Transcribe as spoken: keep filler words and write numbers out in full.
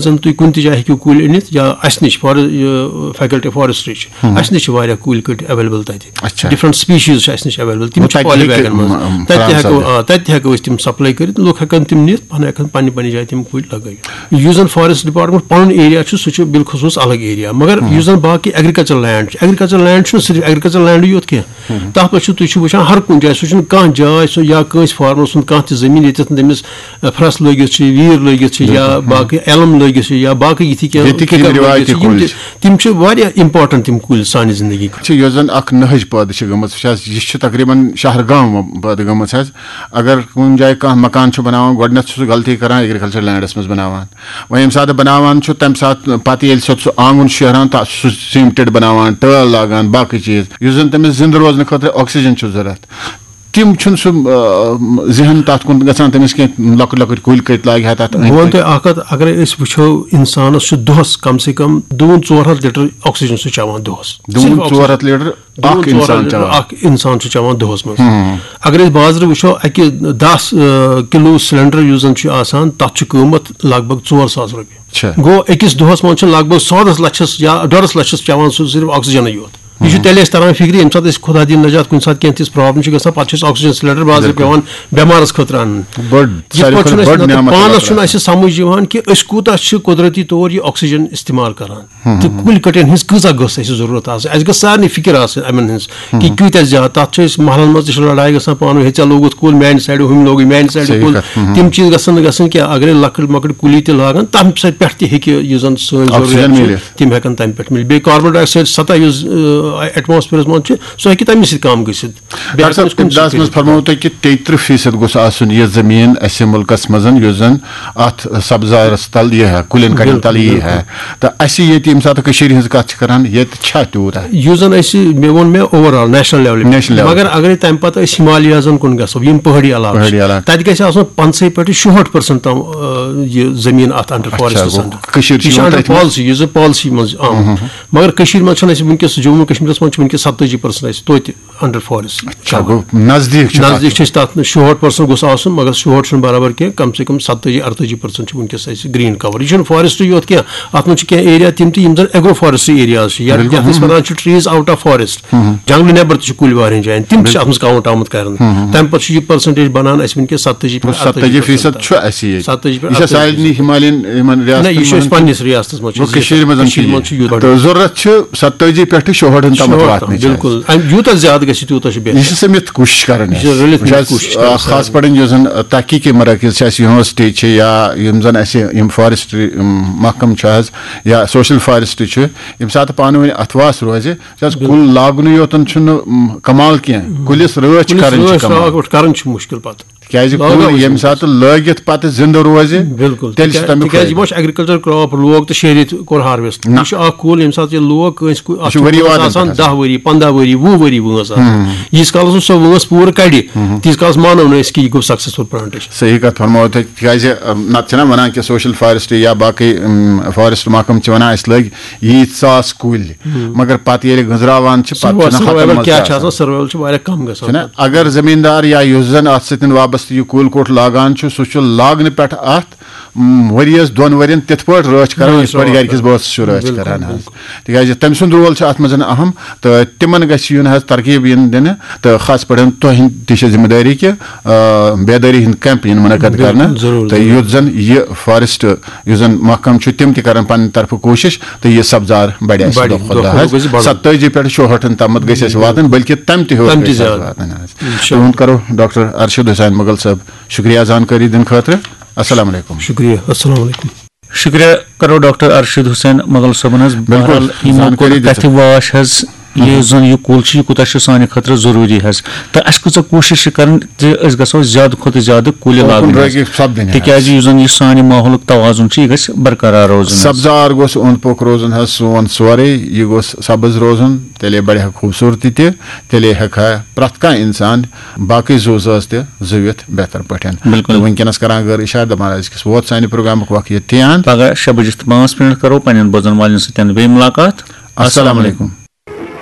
زَن تُہۍ کُنہِ تہِ جایہِ ہیٚکِو کُلۍ أنِتھ، یا اَسہِ نِش فار-، یہِ faculty forestry چھِ، اَسہِ نِش چھِ واریاہ کُلۍ کٔٹۍ available تَتہِ۔ اچھا۔ Different species چھِ اَسہِ نِش available، تِم گوٚو چھِ تَتہِ ہیٚکہِ، poly bagن منٛز۔ م- م- تَتہِ تہِ فراہم ہٮ۪کو، سپدِتھ۔ آ، تَتہِ تہِ ہٮ۪کو أسۍ تِم supply کٔرِتھ، لُکھ ہٮ۪کَن تِم نِتھ، پَنٕنۍ ہٮ۪کَن پَنٕنہِ پَنٕنہِ جایہِ تِم کُلۍ لَگٲوِتھ۔ یُس زَن forest department پَنُن area چھُ، سُہ چھُ بالخصوٗص الگ area، مگر یُس زَن باقٕے agricultural land چھُ، agricultural land چھُنہٕ صرف agricultural landٕے یوت کینٛہہ، تَتھ پٮ۪ٹھ چھُ، تُہۍ چھِو وٕچھان ہر کُنہِ جایہِ، سُہ چھُنہٕ کانٛہہ جاے، سُہ یا کٲنٛسہِ farmerسُنٛد کانٛہہ تہِ زٔمیٖن، ییٚتٮ۪تھ نہٕ تٔمِس پھرٛس لٲگِتھ چھِ، ویٖر لٲگِتھ چھِ، یا باقٕے elm لٲگِتھ چھِ، یا باقٕے یِتھی کینٛہہ ییٚتِکۍ یِم کِکر رِوایتی لٲگِتھ چھِ، یِم کُلۍ تہِ، تِم چھِ واریاہ important تِم کُلۍ سانہِ زندگی خٲطرٕ۔ چھِ، یۄس زَن اَکھ نٔہٕج پٲدٕ چھِ گٔمٕژ، وٕچھ حظ، یہِ چھِ تقریٖباً شہرگام پٲدٕ گٔمٕژ حظ۔ اگر کُنہِ جایہِ کانٛہہ مکان چھُ بَناوان، گۄڈٕنٮ۪تھ چھُ سُہ غلطی کَران agricultural landس منٛز بَناوان۔ وۄنۍ ییٚمہِ ساتہٕ بَناوان چھُ، تَمہِ ساتہٕ پَتہٕ ییٚلہِ سُہ، سُہ آنٛگُن چھُ شیران، تَتھ سُہ cemented بَناوان، ٹٲل لاگان، باقٕے چیٖز، یُس زَن تٔمِس زِندٕ روزنہٕ خٲطرٕ oxygen چھُ ضوٚرَتھ۔ تِم چھُنہٕ سُہ، آ، ذہن تَتھ کُن گژھان تٔمِس کینٛہہ، لۄکٕٹۍ لۄکٕٹۍ کُلۍ کٔٹۍ لاگہِ ہا تَتھ أنٛدۍ بہٕ وَنہٕ پٔکۍ۔ تۄہہِ اَکھ کَتھ، اَگرَے أسۍ وٕچھو، اِنسانَس چھُ دۄہَس کم سے کم دوٗن ژور ہَتھ لیٹر oxygen سُہ چٮ۪وان دۄہَس۔ دوٗن صرف ژور ہَتھ oxygen۔ لیٹر دوٗن اَکھ ژور ہَتھ اِنسان لیٹر چٮ۪وان۔ اَکھ اِنسان چھُ چٮ۪وان دۄہَس منٛز۔ اگر أسۍ بازرٕ وٕچھو، اَکہِ دَہ، آ، کِلوٗ سِلینڈر یُس زَن چھُ آسان، تَتھ چھُ قۭمَتھ لگ بگ ژور ساس رۄپیہِ۔ چھِ۔ گوٚو، أکِس دۄہَس منٛز چھُ لگ بگ سادَس لَچھَس یا ڈۄڈَس لَچھَس چٮ۪وان سُہ صرف oxygenٕے یوت۔ یہِ چھُ تیٚلہِ اَسہِ تَران فِکرِ، ییٚمہِ ساتہٕ أسۍ خۄدا دِیِن نجات، کُنہِ ساتہٕ کینٛہہ تِژھ problem چھِ گژھان، پَتہٕ چھِ اَسہِ oxygen سِلینڈر بازرٕ پٮ۪وان بٮ۪مارَس خٲطرٕ اَنُن۔ بٔڑ، یِتھ ساروی پٲٹھۍ کھۄتہٕ چھُنہٕ اَسہِ بٔڑ مطلب نعمت پانَس اللہ چھُنہٕ اَسہِ سَمٕجھ یِوان کہِ أسۍ کوٗتاہ چھِ قۄدرٔتی طور یہِ oxygen استعمال کَران۔ تہٕ کُلۍ کٔٹٮ۪ن ہٕنٛز کۭژاہ گٔژھ اَسہِ ضروٗرت آسٕنۍ، اَسہِ گٔژھ سارنٕے فِکِر آسٕنۍ یِمَن ہٕنٛز کہِ کۭتیٛاہ زیادٕ۔ تَتھ چھِ أسۍ محلَن منٛز تہِ چھِ لڑایہِ گژھان پانہٕ ؤنۍ، ہے، ژےٚ لوگُتھ کُل میٛانہِ سایڈٕ، ہُمۍ لوگُے میٛانہِ سایڈٕ صحیح کُل۔ کَتھ۔ تِم چیٖز گژھن نہٕ گژھٕنۍ کینٛہہ۔ اَگرے لۄکٕٹۍ مۄکٕٹۍ کُلی تہِ لاگَن، تَمہِ سۭتۍ پٮ۪ٹھ تہِ ہیٚکہِ یُس زَن سٲنۍ oxygen ضروٗریات چھِ، میٖلِتھ۔ تِم ہٮ۪کَن تَمہِ پٮ۪ٹھ میٖلِتھ۔ بیٚیہِ carbon dioxide سطح یُس، آ، atmosphereس منٛز چھِ، سُہ ہیٚکہِ تَمہِ سۭتۍ کَم گٔژھِتھ۔ بیٚیہِ ڈاکٹر ہٮ۪کَن أسۍ صٲب، کُنہِ سۭتۍ ابتداہَس منٛز کٔرِتھ۔ فرموو تۄہہِ کہِ تیٚیہِ تٕرٛہ فیٖصد گوٚژھ آسُن یہِ زٔمیٖن اَسہِ مُلکَس منٛز، یُس زَن اَتھ سبزارَس تَل یہِ ہا، کُلٮ۪ن کَٹٮ۪ن بِلکُل، تَل یہِ ہا۔ تہٕ اَسہِ ییٚتہِ ییٚمہِ ساتہٕ کٔشیٖرِ ہٕنٛز کَتھ چھِ کَران، ییٚتہِ چھا تیوٗتاہ؟ یُس زَن اَسہِ، مےٚ ووٚن مےٚ overall national levelہِ پٮ۪ٹھ۔ National level۔ مگر اَگرے تَمہِ پَتہٕ أسۍ ہِمالیازَن کُن گژھو، یِم پہٲڑی علاقہٕ چھِ، پہٲڑی علاقہٕ۔ تَتہِ گژھِ آسُن پنٛژاہے پٮ۪ٹھٕ شُہٲٹھ percent تام، آ، یہِ زٔمیٖن اَتھ under forestس گوٚو، under۔ کٔشیٖر چھِ یہِ چھِ یِوان under تٔتھۍ منٛز۔ policy، یُس زَن policy منٛز آمُت۔ مگر کٔشیٖرِ منٛز چھَنہٕ اَسہِ وٕنکیٚس، جموں و کشمیٖرَس منٛز چھِ وٕنکیٚس ستٲجی percent اَسہِ توتہِ under forest۔ اچھا، گوٚو نزدیٖک چھُ تَتھ۔ نزدیٖک چھِ أسۍ تَتھ، شُہٲٹھ percent گوٚژھ آسُن، مگر شُہٲٹھ چھُنہٕ برابر کینٛہہ، کم سے کم ستٲجی اَرتٲجی percent چھُ وٕنکیٚس اَسہِ green cover۔ یہِ چھُنہٕ forestٕے یوت کینٛہہ، اَتھ منٛز چھِ کینٛہہ area تِم تہِ یِم زَن agro forestٕے areas چھِ، یا بِلکُل۔ یَتھ أسۍ وَنان چھِ trees out of forest، جنٛگلہٕ نٮ۪بر تہِ چھِ کُلۍ واریاہَن جایَن، تِم تہِ چھِ اَتھ منٛز count آمُت کرنہٕ۔ تَمہِ پَتہٕ چھُ یہِ percentage بَنان اَسہِ وٕنکیٚس ستٲجی پٮ۪ٹھ ستٲجی فیٖصد چھُ اَسہِ ییٚتہِ۔ ستٲجی پٮ۪ٹھ یہِ چھا اَرتٲجی۔ سارنٕے ہِمالین یِمَن نہ، یہِ چھُ ریاستن اَسہِ منٛز؟ پننِس ریاستس منٛز چھُ گوٚو کٔشیٖرِ منٛز چھُ کٔشیٖرِ یہِ۔ منٛز چھُ یوٗت۔ تہٕ ضروٗرت چھِ ستٲجی پٮ۪ٹھٕ شُہٲٹھن تامَتھ شُہٲٹھ واتنٕچ تام، اَسہِ۔ بِلکُل۔ اَمہِ یوٗتاہ زیادٕ گژھِ، تیوٗتاہ چھُ بہتر۔ یہِ چھِ سٔمِتھ کوٗشِش کران یہِ چھِ اَسہِ۔ رٔلِتھ وٕچھ حظ، کوٗشِش آ، کران خاص پٲٹھۍ یُس زَن، آ، تحقیٖقی مراکز چھِ اَسہِ، university چھِ یا یِم زَن اَسہِ یِم forestry، یِم محکمہٕ چھِ حظ یا social forestry چھِ، ییٚمہِ ساتہٕ پانہٕ ؤنۍ اَتھواس روزِ، وٕچھ حظ، کُل لاگنہٕ یوتن چھُنہٕ، م، کمال کینٛہہ، کُلِس رٲچھ کُلِس کرٕنۍ چھِ رٲچھ کمال۔ راوَٹھ کرٕنۍ چھِ مُشکِل پَتہٕ۔ تِکیٛازِ لاگو کُل أسۍ ییٚمہِ أمِس۔ ساتہٕ لٲگِتھ پَتہٕ زِندٕ روزِ، بِلکُل۔ تیٚلہِ چھُ تِکیٛازِ، تَمیُک تِکیٛازِ فٲیدٕ۔ یہِ ما چھُ agriculture crop لوگ تہٕ شیٚیہِ ریٚتۍ کوٚر harvest۔ نہ۔ یہِ چھُ اَکھ کُل ییٚمہِ ساتہٕ یہِ لوگ کٲنٛسہِ کُ-، اَتھ چھُ ؤری کُلِس وادن آسان پٮ۪ٹھ دَہ ؤری، پنٛداہ ؤری، وُہ ؤری وٲنٛس آسان۔ ییٖتِس کالَس نہٕ سۄ وٲنٛس پوٗرٕ کَڑِ، تیٖتِس کالَس مانو نہٕ أسۍ کہِ یہِ گوٚو successful plant۔ صحیح کَتھ فرمٲو تۄہہِ، تِکیٛازِ، ام، نَتہٕ چھِنہ وَنان کہِ social forestry یا باقٕے، ام، forest محکمہٕ چھِ وَنان اَسہِ لٲگۍ ییٖتۍ ساس کُلۍ، مگر پَتہٕ ییٚلہِ گٔنٛزراوان چھِ، پَتہٕ چھِنہ ہَتَن منٛز تہِ کیٛاہ چھِ آسان۔ آسان، survival چھِ واریاہ کَم گژھان۔ چھُنہ؟ اگر زٔمیٖندار یا یُس زَن اَتھ سۭتۍ وابستہٕ یہِ کُل کوٚٹ لاگان چھُ، سُہ چھُ لاگنہٕ پٮ۪ٹھ اَتھ، م، ؤریَس دۄن ؤرِین تِتھ پٲٹھۍ رٲچھ کران، رٲچھ یِتھ پٲٹھۍ راوَٹھ گرِکِس کران۔ بٲژَس چھُ رٲچھ بِلکُل، کران حظ۔ بِلکُل۔ تِکیٛازِ تٔمۍ سُنٛد role چھُ اَتھ منٛز اَہَم، تہٕ تِمن گژھِ یُن حظ ترغیب یِن دِنہٕ، تہٕ خاص پٲٹھۍ تۄہہِ تہِ چھِ ذمہٕ دٲری کہِ، آ، بیدٲری ہُنٛد camp یِن منعقد بِلکُل، کرنہٕ، ضروٗر، تہٕ ضروٗر۔ یُتھ زَن یہِ forest، یُس زَن محکمہٕ چھُ، تِم تہِ کرن پننہِ طرفہٕ کوٗشِش تہٕ یہِ سبزار بڑِ اَسہِ بڑِ، دۄہ کھۄتہٕ دۄہ دۄہ کھۄتہٕ حظ۔ دۄہ گژھِ بڑُن۔ ستٲجی پٮ۪ٹھ شُہٲٹھن تامَتھ گژھِ اَسہِ واتٕنۍ، بلکہِ تَمہِ تہِ ہیوٚر تَمہِ تہِ گژھِ اَسہِ زیادٕ۔ واتٕنۍ حظ۔ اِنشاء تُہُنٛد کرو ڈاکٹر ارشد حسین مغل صٲب شُکریہ زانکٲری دِنہٕ خٲطرٕ۔ السلام علیکم۔ شُکریہ، السلام علیکم۔ شُکریہ کرو ڈاکٹر ارشد حسین مغل صٲبن حظ۔ بِلکُل، بہرحال، یِمو زانکٲری کوٚر دِژٕکھ۔ کتھِ واش حظ، یُس زن یہِ کُل چھُ، یہِ کوٗتاہ چھُ سانہِ خٲطرٕ ضروٗری حظ۔ تہٕ اَسہِ کۭژاہ کوٗشِش چھِ کرٕنۍ زِ أسۍ گژھو زیادٕ کھۄتہٕ زیادٕ کُلۍ اُکُن لاگٕنۍ حظ۔ رٲغب سپدٕنۍ حظ۔ تِکیازِ یُس زن یہِ سانہِ ماحولُک توازُن چھُ، یہِ گژھِ برقرار روزُن حظ۔ سبزار گوٚژھ اوٚنٛد پوٚک روزُن حظ سون سورُے، یہِ گوٚژھ سبٕز روزُن، تیٚلے بڑِ ہا خوٗبصوٗرتی تہِ، تیٚلے ہٮ۪کہِ ہا پرٛٮ۪تھ کانٛہہ اِنسان باقٕے زُو زٲژ تہِ زُوِتھ بہتر پٲٹھۍ۔ بِلکُل۔ تہٕ وٕنکیٚنس کران غٲر اِشارٕ، دپان أزکِس ووت سانہِ پروگرامُک وقت ییٚتہِ تام۔ پگاہ شےٚ بجہِ تہٕ پانٛژھ منٹ کرو پننٮ۪ن بوزن والٮ۪ن سۭتۍ بیٚیہِ مُلاقات۔ السلام علیکم۔